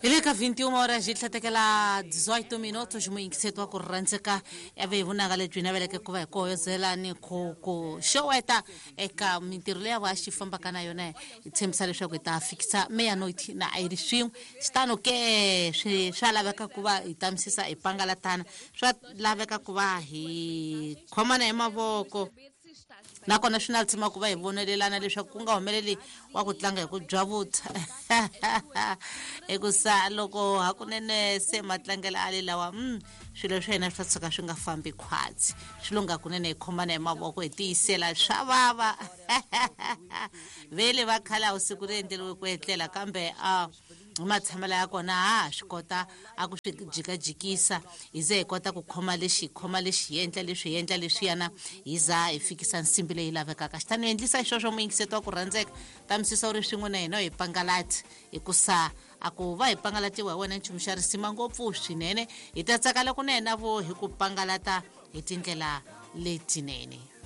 Hi le ka 21 horas yi tlhatekela 18 minutos muyingiseti wa ku rhandzeka ya ve hi vunanga lebyi naveleke ku va hi koyozela ni ku ku xoweta eka mintirho leyi va xi fambaka na yona. Hi tshembisa leswaku hi ta fikisa meyanoiti na a yi ri swin'we xitano ke swi swa laveka ku va hi tamisisa hi pangalatana, swa laveka ku va hi khomana hi mavoko, nakona swi na tsima ku va hi vonelelana leswaku ku nga humeleli wa ku tlanga hi ku byavutha, hikusa loko hakunene se matlangelo a le lawa swilo swa hina swi ta tshuka swi nga fambi khwatsi. Swi lunga kunene hi khomana hi mavoko, hi tiyisela swa vava. Vele va khale a wu siku ri endleriwe ku etlela, kambe a hi matshamelo ya kona ha swi kota a ku swi jikajikisa, hi ze hi kota ku khoma lexi, hi khoma lexi, hi endla leswi, hi endla leswiyana, hi za hi fikisa nsimbi leyi lavekaka. Xitani u endlisa xisweswo, muyingiseti wa ku rhandzeka, tamisisa u ri swin'we na hina hi pangalati, hikusa a ku va hi pangalatiwa hi wena nchumu xa risima ngopfu swinene. Hi ta tsakala kunene vo hi ku pangalata hi tindlela letinene.